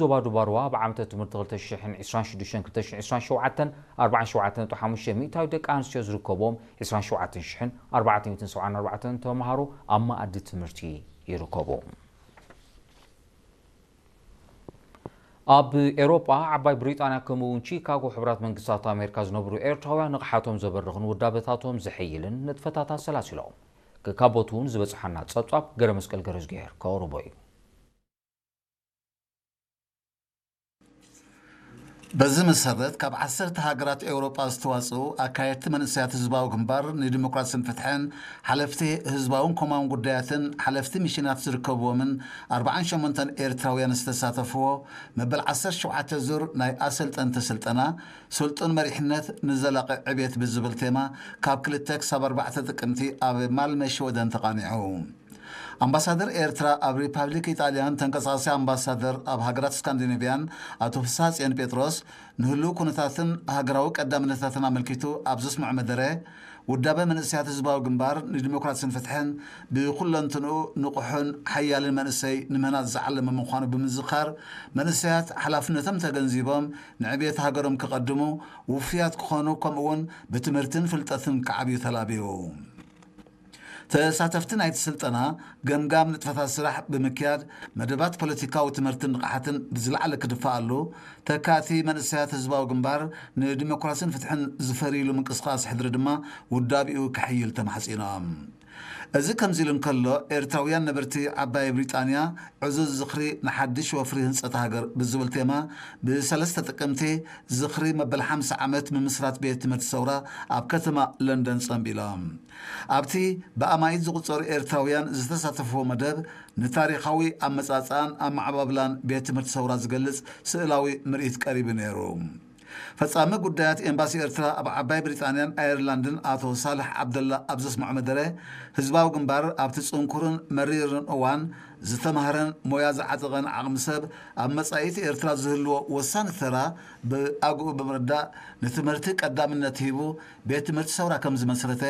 ዞባ ዱባርዋ ኣብ ዓመተ ትምህርቲ ክልተ ሽሕን ዕስራን ሽዱሽተን ክልተ ሽሕን ዕስራን ሸውዓተን ኣርባዓን ሸውዓተን ነጥቢ ሓሙሽተ ሚእታዊት ደቂ ኣንስትዮ ዝርከብዎም ዕስራን ሸውዓተን ሽሕን ኣርባዕተ ሚእትን ሰብዓን ኣርባዕተን ተምሃሮ ኣብ መኣዲ ትምህርቲ ይርከቡ። ኣብ ኤውሮጳ ዓባይ ብሪጣንያ ከምኡ እውን ቺካጎ ሕቡራት መንግስታት ኣሜሪካ ዝነብሩ ኤርትራውያን ንቕሓቶም ዘበርኽን ውዳበታቶም ዘሐይልን ንጥፈታት ኣሰላሲሎም። ከካቦት እውን ዝበጽሓና ጸብጻብ ገረ መስቀል ገረዝግሄር ከቕርቦ እዩ። በዚ መሰረት ካብ ዓሰርተ ሃገራት ኤውሮጳ ዝተዋጽኡ ኣካየድቲ መንእሰያት ህዝባዊ ግንባር ንዲሞክራስን ፍትሕን ሓለፍቲ ህዝባውን ኮማውን ጉዳያትን ሓለፍቲ ሚሽናት ዝርከብዎምን ኣርባዓን ሸሞንተን ኤርትራውያን ዝተሳተፍዎ መበል ዓሰርተ ሸውዓተ ዙር ናይ ኣሰልጠንቲ ስልጠና ስልጡን መሪሕነት ንዘላቒ ዕብየት ብዝብል ቴማ ካብ ክልተ ክሳብ ኣርባዕተ ጥቅምቲ ኣብ ማልመ ሽወደን ተቓኒዑ። ኣምባሳደር ኤርትራ ኣብ ሪፓብሊክ ኢጣልያን ተንቀሳቓሲ ኣምባሳደር ኣብ ሃገራት ስካንዲኔቭያን ኣቶ ፍስሃጽዮን ጴጥሮስ ንህልው ኩነታትን ሃገራዊ ቀዳምነታትን ኣመልኪቱ ኣብ ዘስምዖ መደረ ውዳበ መንእሰያት ህዝባዊ ግንባር ንዲሞክራስን ፍትሕን ብኩለንትንኡ ንቑሕን ሓያልን መንእሰይ ንምህናጽ ዝዓለመ ምዃኑ ብምዝኻር መንእሰያት ሓላፍነቶም ተገንዚቦም ንዕብየት ሃገሮም ክቐድሙ ውፉያት ክኾኑ ከምኡውን ብትምህርትን ፍልጠትን ክዓብዩ ተላብዩ። ተሳተፍቲ ናይቲ ስልጠና ገምጋም ንጥፈታት ስራሕ ብምክያድ መደባት ፖለቲካዊ ትምህርትን ንቕሓትን ብዝለዓለ ክድፋኣሉ ተካእቲ መንእሰያት ህዝባዊ ግንባር ንዲሞክራስን ፍትሕን ዝፈርይሉ ምንቅስቃስ ሕድሪ ድማ ውዳቢኡ ክሕይል ተማሕጺኖም። እዚ ከምዚ ኢሉ እንከሎ ኤርትራውያን ነበርቲ ዓባይ ብሪጣንያ ዕዙዝ ዝኽሪ ንሓድሽ ወፍሪ ህንጸት ሃገር ብዝብል ቴማ ብሰለስተ ጥቅምቲ ዝኽሪ መበል ሓምሳ ዓመት ምምስራት ቤት ትምህርቲ ሰውራ ኣብ ከተማ ለንደን ጸንቢሎም። ኣብቲ ብኣማኢት ዝቑጸሩ ኤርትራውያን ዝተሳተፍዎ መደብ ንታሪኻዊ ኣመጻጽኣን ኣመዓባብላን ቤት ትምህርቲ ሰውራ ዝገልጽ ስእላዊ ምርኢት ቀሪቡ ነይሩ። ፈጻሚ ጉዳያት ኤምባሲ ኤርትራ ኣብ ዓባይ ብሪጣንያን ኣየርላንድን ኣቶ ሳልሕ ዓብደላ ኣብ ዘስምዖ መደረ ህዝባዊ ግንባር ኣብቲ ጽንኩርን መሪርን እዋን ዝተማህረን ሞያ ዝዓጠቐን ዓቕሚ ሰብ ኣብ መጻኢት ኤርትራ ዝህልዎ ወሳኒ ተራ ብኣግኡ ብምርዳእ ንትምህርቲ ቀዳምነት ሂቡ ቤት ትምህርቲ ሰውራ ከም ዝመስረተ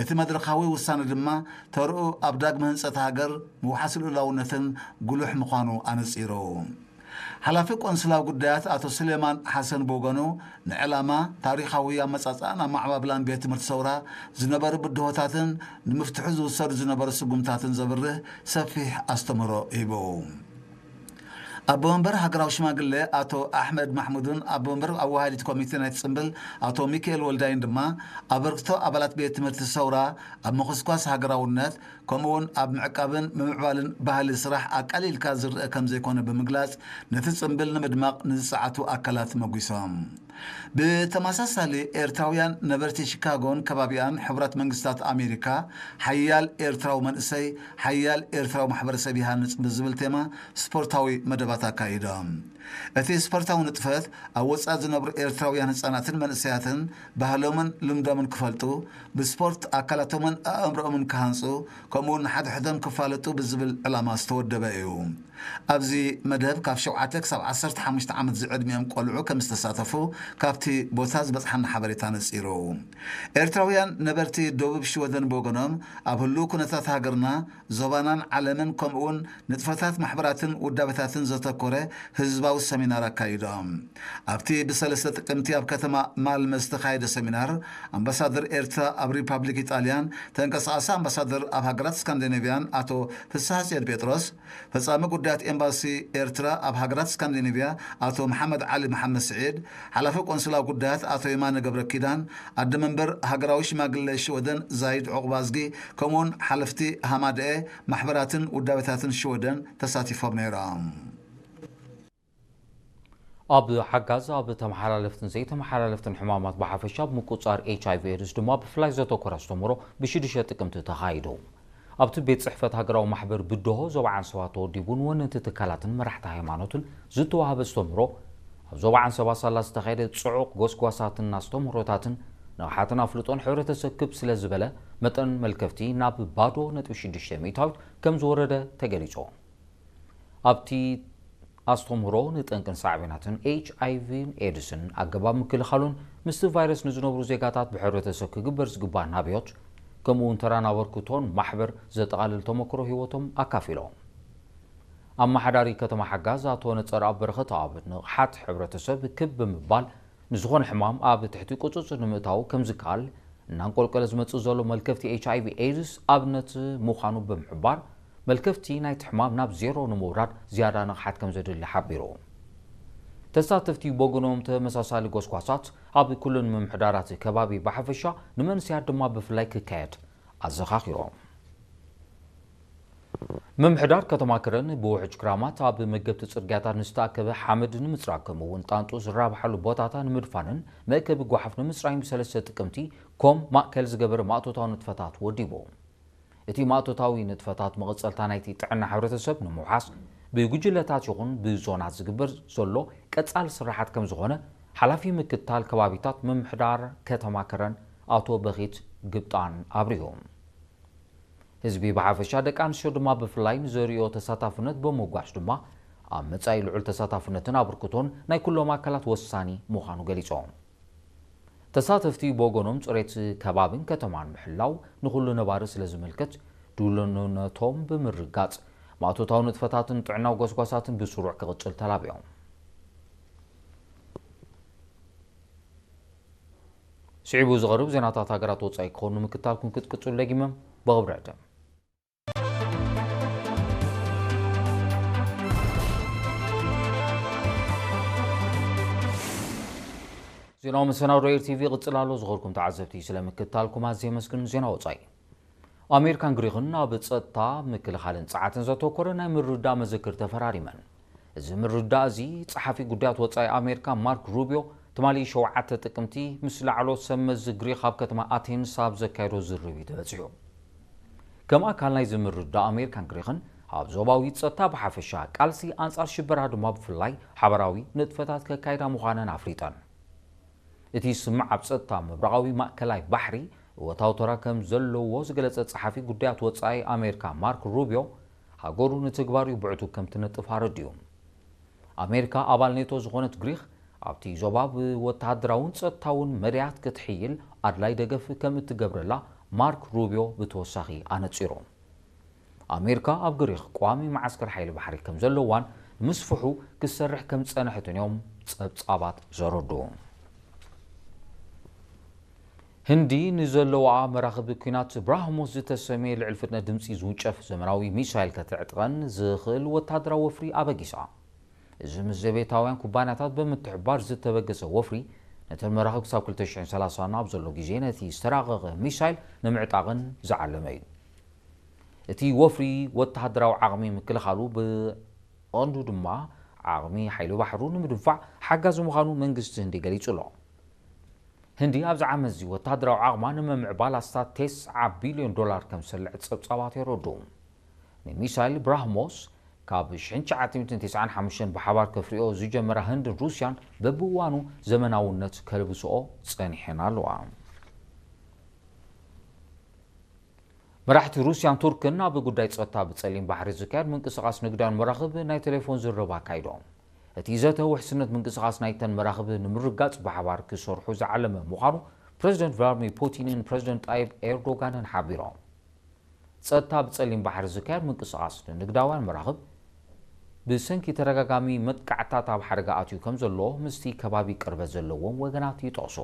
እቲ መድረኻዊ ውሳነ ድማ ተርኡ ኣብ ዳግመ ህንጸት ሃገር ምውሓስ ልኡላውነትን ጉሉሕ ምዃኑ ኣነጺሩ። ሓላፊ ቆንስላዊ ጉዳያት ኣቶ ስሌማን ሓሰን ብወገኑ ንዕላማ ታሪኻዊ ኣመጻጽኣን ኣመዓባብላን ቤት ትምህርቲ ሰውራ ዝነበሩ ብድሆታትን ንምፍትሑ ዝውሰዱ ዝነበሩ ስጉምታትን ዘብርህ ሰፊሕ ኣስተምህሮ ሂቡ። ኣቦ መንበር ሃገራዊ ሽማግሌ ኣቶ ኣሕመድ ማሕሙድን ኣቦ መንበር ኣወሃዲት ኮሚቴ ናይቲ ጽምብል ኣቶ ሚካኤል ወልዳይን ድማ ኣበርክቶ ኣባላት ቤት ትምህርቲ ሰውራ ኣብ ምኹስኳስ ሃገራውነት ከምኡውን ኣብ ምዕቃብን ምምዕባልን ባህሊ ስራሕ ኣቃሊልካ ዝረአ ከም ዘይኮነ ብምግላጽ ነቲ ጽምብል ንምድማቕ ንዝጸዓቱ ኣካላት መጒሶም። ብተመሳሳሊ ኤርትራውያን ነበርቲ ሺካጎን ከባቢኣን ሕቡራት መንግስታት ኣሜሪካ ሓያል ኤርትራዊ መንእሰይ ሓያል ኤርትራዊ ማሕበረሰብ ይሃንጽ ብዝብል ቴማ ስፖርታዊ መደባት ኣካይዶም። እቲ ስፖርታዊ ንጥፈት ኣብ ወጻኢ ዝነብሩ ኤርትራውያን ህጻናትን መንእሰያትን ባህሎምን ልምዶምን ክፈልጡ ብስፖርት ኣካላቶምን ኣእምሮኦምን ክሃንጹ ከምኡውን ንሓድሕዶም ክፋለጡ ብዝብል ዕላማ ዝተወደበ እዩ። ኣብዚ መደብ ካብ ሸውዓተ ክሳብ ዓሰርተ ሓሙሽተ ዓመት ዝዕድሚኦም ቆልዑ ከም ዝተሳተፉ ካብቲ ቦታ ዝበጽሓና ሓበሬታ ነጺሩ። ኤርትራውያን ነበርቲ ደቡብ ሽወደን ብወገኖም ኣብ ህልው ኩነታት ሃገርና ዞባናን ዓለምን ከምኡውን ንጥፈታት ማሕበራትን ውዳበታትን ዘተኮረ ህዝባዊ ሰሚናር ኣካይዶም። ኣብቲ ብሰለስተ ጥቅምቲ ኣብ ከተማ ማልመ ዝተኻየደ ሰሚናር ኣምባሳደር ኤርትራ ኣብ ሪፓብሊክ ኢጣልያን ተንቀሳቓሲ ኣምባሳደር ኣብ ሃገራት ስካንዲኔቭያን ኣቶ ፍስሃ ጽዮን ጴጥሮስ ፈጻሚ ጉዳያት ኤምባሲ ኤርትራ ኣብ ሃገራት ስካንዲኔቭያ ኣቶ መሓመድ ዓሊ መሓመድ ስዒድ፣ ሓላፊ ቆንስላዊ ጉዳያት ኣቶ የማነ ገብረ ኪዳን፣ ኣደ መንበር ሃገራዊ ሽማግለ ሽወደን ዛይድ ዑቕባዝጊ፣ ከምኡውን ሓለፍቲ ሃማደኤ ማሕበራትን ውዳበታትን ሽወደን ተሳቲፎም ነይሮም። ኣብ ሓጋዝ ኣብ ተመሓላለፍትን ዘይተመሓላለፍትን ሕማማት ብሓፈሻ ኣብ ምቁጻር ኤች ኣይ ቪ ኤድስ ድማ ብፍላይ ዘተኮረ ኣስተምህሮ ብሽዱሽተ ጥቅምቲ ተኻይዱ። ኣብቲ ቤት ጽሕፈት ሃገራዊ ማሕበር ብድሆ ዞባ ዓንሰባ ተወዲቡን ወነንቲ ትካላትን መራሕቲ ሃይማኖትን ዝተዋህበ ኣስተምህሮ ኣብ ዞባ ዓንሰባ ሳላ ዝተኻየደ ጽዑቕ ጎስጓሳትን ኣስተምህሮታትን ንቕሓትን ኣፍልጦን ሕብረተሰብ ክብ ስለ ዝበለ መጠን መልከፍቲ ናብ ባዶ ነጥቢ ሽዱሽተ ሚእታዊት ከም ዝወረደ ተገሊጹ። ኣብቲ ኣስተምህሮ ንጠንቅን ሳዕቤናትን ኤች ኣይ ቪን ኤድስን ኣገባብ ምክልኻሉን ምስቲ ቫይረስ ንዝነብሩ ዜጋታት ብሕብረተሰብ ክግበር ዝግባእ ናብዮት ከምኡ እውን ተራን ኣበርክቶን ማሕበር ዘጠቓልል ተመክሮ ህይወቶም ኣካፊሎም። ኣመሓዳሪ ከተማ ሓጋዝ ኣቶ ነጸርኣብ በረኸተኣብ ንቕሓት ሕብረተሰብ ክብ ብምባል ንዝኾነ ሕማም ኣብ ትሕቲ ቁጽጽር ንምእታው ከምዝከኣል እናንቆልቀለ ዝመጽእ ዘሎ መልከፍቲ ኤች ኣይ ቪ ኤድስ ኣብነት ምዃኑ ብምሕባር፣ መልከፍቲ ናይቲ ሕማም ናብ ዜሮ ንምውራድ ዝያዳ ንቕሓት ከምዘድሊ ሓቢሩ። ተሳተፍቲ ብወገኖም ተመሳሳሊ ጎስጓሳት ኣብ ኩለን ምምሕዳራት ከባቢ ብሓፈሻ ንመንስያት ድማ ብፍላይ ክካየድ ኣዘኻኺሮም። ምምሕዳር ከተማ ከረን ብውሕጅ ክራማት ኣብ መገብቲ ጽርግያታት ንዝተኣከበ ሓመድ ንምጽራግ ከምኡ እውን ጣንጡ ዝራብሓሉ ቦታታት ንምድፋንን መእከቢ ጓሓፍ ንምጽራይን ብሰለስተ ጥቅምቲ ኮም ማእከል ዝገበረ ማእቶታዊ ንጥፈታት ወዲቡ። እቲ ማእቶታዊ ንጥፈታት መቐጸልታ ናይቲ ጥዕና ሕብረተሰብ ንምውሓስ ብጉጅለታት ይኹን ብዞናት ዝግበር ዘሎ ቀጻሊ ስራሓት ከም ዝኾነ ሓላፊ ምክትታል ከባቢታት ምምሕዳር ከተማ ከረን ኣቶ በኺት ግብጣን ኣብሪሁ። ህዝቢ ብሓፈሻ ደቂ ኣንስትዮ ድማ ብፍላይ ንዘርእዮ ተሳታፍነት ብምጉዓዝ ድማ ኣብ መጻኢ ልዑል ተሳታፍነትን ኣበርክቶን ናይ ኩሎም ኣካላት ወሳኒ ምዃኑ ገሊጾም። ተሳተፍቲ ብወገኖም ጽሬት ከባብን ከተማን ምሕላው ንኹሉ ነባሪ ስለ ዝምልከት ድልውነቶም ብምርጋጽ ማእቶታዊ ንጥፈታትን ጥዕናዊ ጎስጓሳትን ብስሩዕ ክቕጽል ተላቢዮም። ስዒቡ ዝቐርብ ዜናታት ሃገራት ወጻኢ ክኾኑ ምክታልኩም ክትቅጽሉ ደጊመም ብኽብሪ ዕድም። ዜናዊ መሰናዶ ኤር ቲቪ ይቕጽል ኣሎ። ዝኸርኩም ተዓዘብቲ ስለምክታልኩም ኣዝየ የመስግን። ዜና ወጻኢ። ኣሜሪካን ግሪኽን ኣብ ጸጥታ፣ ምክልኻልን ጸዓትን ዘተኮረ ናይ ምርድዳእ መዘክር ተፈራሪመን። እዚ ምርድዳእ እዚ ጸሓፊ ጉዳያት ወጻኢ ኣሜሪካ ማርክ ሩቢዮ ትማሊ ሸውዓተ ጥቅምቲ ምስ ላዕሎት ሰብ መዚ ግሪኽ ኣብ ከተማ ኣቴንስ ኣብ ዘካየዶ ዝርብ እዩ ተበጺሑ። ከም ኣካል ናይዚ ምርድዳእ ኣሜሪካን ግሪኽን ኣብ ዞባዊ ጸጥታ ብሓፈሻ ቃልሲ ኣንጻር ሽበራ ድማ ብፍላይ ሓበራዊ ንጥፈታት ከካይዳ ምዃነን ኣፍሊጠን። እቲ ስምምዕ ኣብ ጸጥታ ምብራቓዊ ማእከላይ ባሕሪ እወታዊ ተራ ከም ዘለዎ ዝገለጸ ጸሓፊ ጉዳያት ወጻኢ ኣሜሪካ ማርክ ሩቢዮ፣ ሃገሩ ንትግባሪኡ ብዕቱብ ከም ትነጥፍ ኣረዲኡ። ኣሜሪካ ኣባል ኔቶ ዝኾነት ግሪኽ ኣብቲ ዞባ ብወተሃደራውን ጸጥታውን መዳያት ክትሕይል ኣድላይ ደገፍ ከም እትገብረላ ማርክ ሩቢዮ ብተወሳኺ ኣነጺሩ። ኣሜሪካ ኣብ ግሪኽ ቋሚ መዓስከር ሓይሊ ባሕሪ ከም ዘለዋን ንምስፍሑ ክትሰርሕ ከም ዝጸንሐትን እዮም ጸብጻባት ዘረድኡ። ህንዲ ንዘለዋ መራኽብ ኲናት ብራህሞስ ዝተሰምየ ልዕሊ ፍጥነት ድምጺ ዝውንጨፍ ዘመናዊ ሚሳይል ከተዕጥቐን ዝኽእል ወታደራዊ ወፍሪ ኣበጊሳ። እዚ ምስ ዘቤታውያን ኩባንያታት ብምትሕብባር ዝተበገሰ ወፍሪ፣ ነተን መራኽብ ክሳብ ክልተ ሽሕን ሰላሳን ኣብ ዘሎ ግዜ ነቲ ዝተራቐቐ ሚሳይል ንምዕጣቕን ዝዓለመ እዩ። እቲ ወፍሪ ወተሃደራዊ ዓቕሚ ምክልኻሉ ብቐንዱ ድማ ዓቕሚ ሓይሊ ባሕሩ ንምድንፋዕ ሓጋዚ ምዃኑ መንግስቲ ህንዲ ገሊጹ ኣሎ። ህንዲ ኣብዚ ዓመት እዚ ወተሃደራዊ ዓቕማ ንምምዕባል ኣስታት ተስዓ ቢልዮን ዶላር ከም ዝሰልዐት ጸብጻባት የረድኡ። ንሚሳይል ብራህሞስ ካብ ሽሕን ትሽዓተ ሚእትን ተስዓን ሓሙሽተን ብሓባር ከፍርዮ ዝጀመራ ህንድን ሩስያን በብእዋኑ ዘመናውነት ከልብስኦ ጸኒሐን ኣለዋ። መራሕቲ ሩስያን ቱርክን ኣብ ጉዳይ ጸጥታ ብጸሊም ባሕሪ ዝካየድ ምንቅስቓስ ንግዳን መራኽብ ናይ ቴሌፎን ዝርርብ ኣካይዶም። እቲ ዘተ ውሕስነት ምንቅስቓስ ናይተን መራኽብ ንምርጋጽ ብሓባር ክሰርሑ ዝዓለመ ምዃኑ ፕረዚደንት ቭላድሚር ፑቲንን ፕረዚደንት ጣይብ ኤርዶጋንን ሓቢሮም። ጸጥታ ብጸሊም ባሕሪ ዝካየድ ምንቅስቓስ ንንግዳውያን መራኽብ ብሰንኪ ተደጋጋሚ መጥቃዕታት ኣብ ሓደጋ ኣትዩ ከም ዘሎ ምስቲ ከባቢ ቅርበት ዘለዎም ወገናት ይጠቕሱ።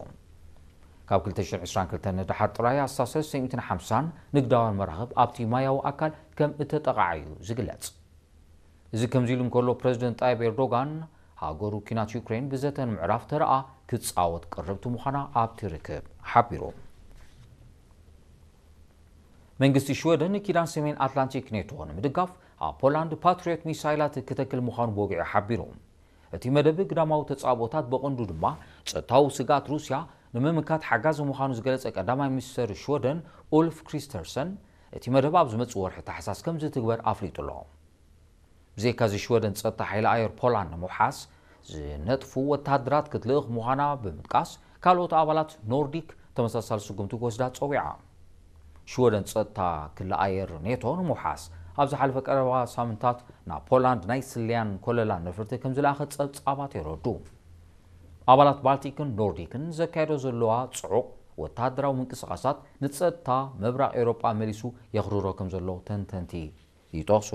ካብ ክልተ ሽሕን ዕስራን ክልተን ንደሓር ጥራይ ኣስታት ሰለስተ ሚእትን ሓምሳን ንግዳውያን መራኽብ ኣብቲ ማያዊ ኣካል ከም እተጠቓዓዩ ዝግለጽ። እዚ ከምዚ ኢሉ እንከሎ፣ ፕረዚደንት ጣይብ ኤርዶጋን ሃገሩ ኲናት ዩክሬን ብዘተ ንምዕራፍ ተረኣ ክትጻወት ቅርብቲ ምዃና ኣብቲ ርክብ ሓቢሩ። መንግስቲ ሽወደን ንኪዳን ሰሜን ኣትላንቲክ ኔቶ ንምድጋፍ ኣብ ፖላንድ ፓትሪዮት ሚሳይላት ክተክል ምዃኑ ብወግዒ ሓቢሩ። እቲ መደብ ግዳማዊ ተጻብኦታት ብቐንዱ ድማ ጸጥታዊ ስግኣት ሩስያ ንምምካት ሓጋዚ ምዃኑ ዝገለጸ ቀዳማይ ሚኒስተር ሽወደን ኡልፍ ክሪስተርሰን፣ እቲ መደብ ኣብ ዝመጽእ ወርሒ ታሕሳስ ከም ዝትግበር ኣፍሊጡ ኣሎ። ብዘይካዚ ሽወደን ጸጥታ ሓይሊ ኣየር ፖላንድ ንምውሓስ ዝነጥፉ ወተሃደራት ክትልእኽ ምዃና ብምጥቃስ፣ ካልኦት ኣባላት ኖርዲክ ተመሳሳሊ ስጉምቲ ክወስዳ ጸዊዓ። ሽወደን ጸጥታ ክሊ ኣየር ኔቶ ንምውሓስ ኣብ ዝሓለፈ ቀረባ ሳምንታት ናብ ፖላንድ ናይ ስለያን ኮለላን ነፈርቲ ከም ዝለኣኸት ጸብጻባት የረዱ። ኣባላት ባልቲክን ኖርዲክን ዘካየዶ ዘለዋ ጽዑቕ ወተሃደራዊ ምንቅስቓሳት ንጸጥታ ምብራቕ ኤውሮጳ መሊሱ የኽርሮ ከም ዘሎ ተንተንቲ ይጠቕሱ።